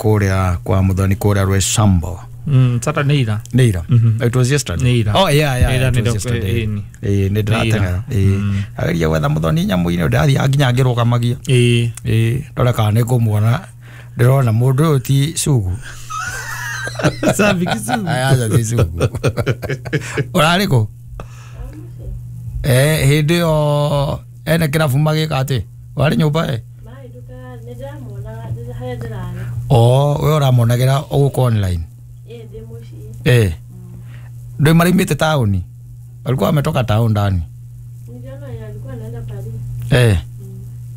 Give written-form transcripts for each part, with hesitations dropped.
Kuria kwa muthoni kuria Rwesambo. Saturday ira. Nĩ ira. It was yesterday. Nĩ ira. Oh yeah, Ira it was yesterday. nĩ. Nĩ ndĩrateng'era. Ageria gwetha muthoni nyamũ-inĩ ndĩrathiĩ nginya ngĩrũgamagia. Ndore kana nĩ ngũmuona. Ndĩrona mũndũ ũyũ ti Sugu. Sambiki Sugu. Aca ti Sugu. Ũrarĩ kũ? Hĩndĩ ĩyo ene kĩrabu magĩka atĩ warĩ nyũmba ĩ? Oh, we ũramonagĩra gũkũ online. Ndio marimĩte taũni. Walikuwa wametoka town ndani.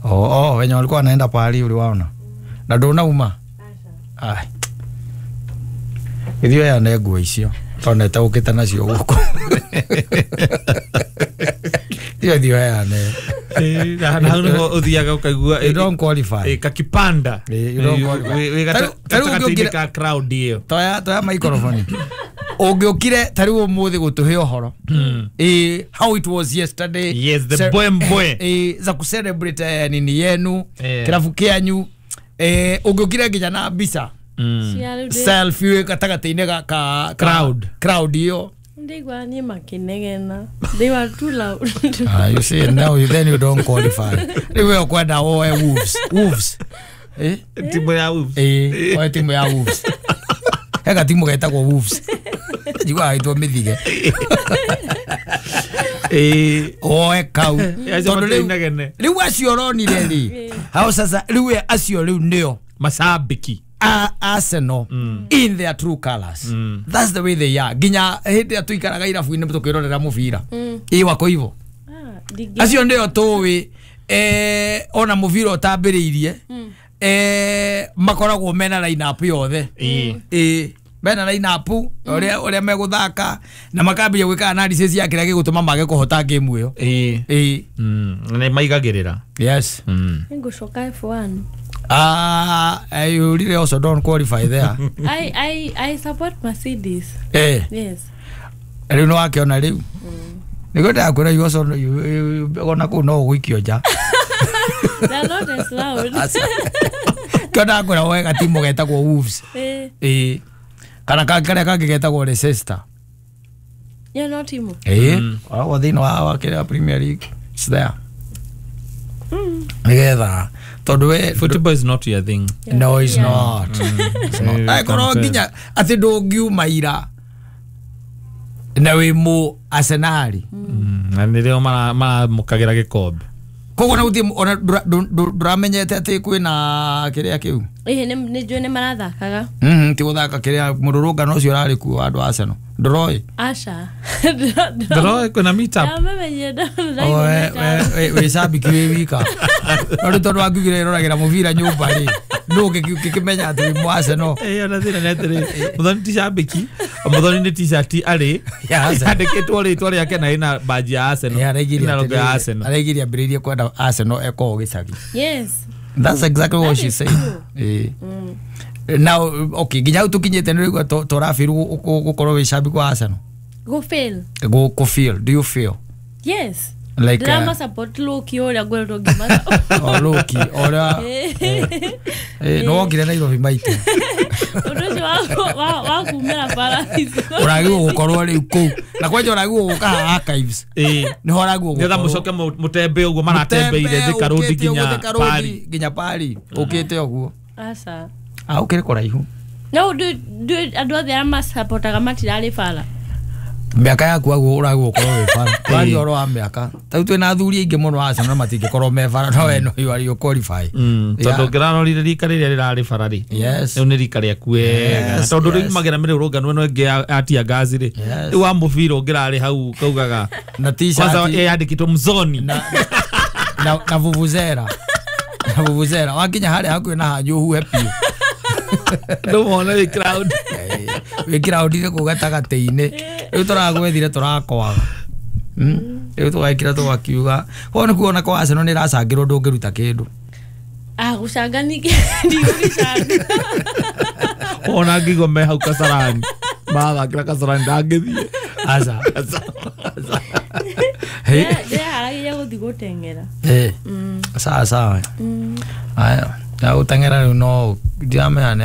Oh, wenye walikuwa wanaenda pahali uliwaona. Na ndũnauma? Ai. Ithuĩ aya nĩ nguo icio tondũ nĩtaũkĩte nacio gũkũ. Ithuĩ aya nĩ. Na hau nĩho ũthiaga ũkaigua You don't qualify. Kakipanda. You don't qualify. Gatagatĩ-inĩ ka crowd ĩyo. Toya microphone. Ũngĩũkire ta rĩu ũmũthĩ gũtũhe ũhoro. How it was yesterday. Yes, the mbwembwe. Za kucelebrate nini yenu, kĩrabu kĩanyu. Ũngĩũkire nginya na mbica. Selfie gatagatĩ-inĩ ga crowd. Crowd ĩyo. Ndigwa ni makinegena. They were too loud. You see now you then you don't qualify. Rĩu we ũkwenda woe Wolves. Wolves. Timu ya Wolves. Woe timu ya Wolves. Hega timu getagwo Wolves. Njiguaga ĩtwo mĩthige. Oe kau. Tondũ rĩu acio ũronire rĩ. Hao sasa rĩu acio rĩu nĩo mashabiki Arsenal in their true colors. That's the way they are. Ginya hĩndĩ ĩrĩa tũikaraga irabu-inĩ tũkĩrorera mũbira. Wako hivyo. Acio nĩo tũĩ ona mũbira ũtambĩrĩirie makoragwo mena line up yothe. Mena line up ũrĩa megũthaka na makambia gwĩka analysis ya kĩrĩa gĩgũtũma mage kũhota game ĩyo. Nĩ maigagĩrĩra. Yes. Nĩngũcoka F1. You really also don't qualify there. I support Mercedes. Yes. Rĩu nĩ wakĩona rĩu. Nĩguo ndakwĩra you also ona kũu no ũgũikio nja. They're not as loud. Kĩo ndakwĩra woe gatimu getagwo Wolves. Kana karĩa kangĩ getagwo Leicester. Yeah, no timu. Wa thĩinĩ wa kĩrĩa Premier League. It's there. Nĩgetha tondũ we football is not your thing. Yeah. No, it's not. It's not. Akorwo nginya atĩ ndũngiuma ira na wĩ mũ Arsenal. Na nĩrĩo maramũkagĩra gĩkombe. Koguo na gũthiĩ ona ndũramenyete atĩ kwĩna kĩrĩa kĩu. Nĩ njũĩ nĩ marathakaga. Ti gũthaka kĩrĩa mũrũrũngano ũcio ũrarĩ kuo wa andũ a Arsenal. Ndũroĩ? Aca. Ndũroĩ kwĩna meet up. Wĩ cambiki wĩ wika. No rĩu tondũ wangiugire ĩroragĩra mũbira nyũmba rĩ, nũ ũngĩkĩmenya atĩ wĩ mũ Arsenal? Ona thĩna nĩ atĩrĩ, Muthoni ti cambiki, Muthoni nĩ t-shirt arĩ yandĩkĩtwo rĩtwa rĩake na ĩna badge ya Arsenal. Ĩna logo ya Arsenal. Araigĩria ambĩrĩirie kwenda Arsenal eko gĩcagi. Yes. That's exactly what she said. Now, okay, nginya hau tũkinyĩte nĩ ũraigua tũrafeel gũkorwo wĩ cambiki wa Arsenal? Go feel. Go feel. Do you feel? Yes. Like drama support Loki ũrĩa ngweretwo ngĩma. Oh, Loki ũrĩa no wokire Nairobi maitũ. Ũndũ ũcio wa kumĩra bara icio. Ũragĩrĩirwo gũkorwo rĩu kũu. Na kwanja ũragĩrĩirwo gũka haha archives. Nĩho ũragĩrĩirwo Nĩgetha gũkorwo. mũcoke mũtembe ũguo maratembeire Thika Road nginya Pari. Nginya Pari. Ũkĩte ũguo. Aca. Ũkĩrĩ kũraihu. No andũ othe arĩa macapotaga matirarĩ bara. Mĩaka yaku aguo ũragwo ũkorwo wĩ bara. Twaria ũhoro wa mĩaka. Ta rĩu twĩna athuri aingĩ mũno a Arsenal matingĩkorwo me bara no we no you are you qualify. Tondũ ũngĩrarorire rika rĩrĩa rĩrarĩ bara rĩ. Yes. Rĩu nĩ rika rĩaku wega. Tondũ rĩu magera mĩrũrũngano ĩno ĩngĩ ya tear gas rĩ. Rĩu wa mũbira ũngĩrarĩ hau ũkaugaga na t-shirt kwanza yandĩkĩtwo mzoni na vuvuzela. Na vuvuzela wakinya harĩa hakuhĩ na hanyu ũhuhe biũ. Ndũmona wĩ crowd. Wĩ crowd inĩ kũu gatagatĩ-inĩ. Rĩu tũragwethire tũrakwaga. Rĩu tũgekĩra tũgakiuga. Koguo nĩ kuona kwa Arsenal nĩ ĩracangĩrwo ndũngĩruta kĩndũ. Gũcanga ningĩ ndigũgĩcanga. Ona ngĩigua me hau Kasarani. Marathakĩra Kasarani ndangĩthiĩ. Aca. Ndĩreharagĩria gũthiĩ gũteng'era. Sawa sawa. Aya. Na gũteng'era rĩu no ndiramenya nĩ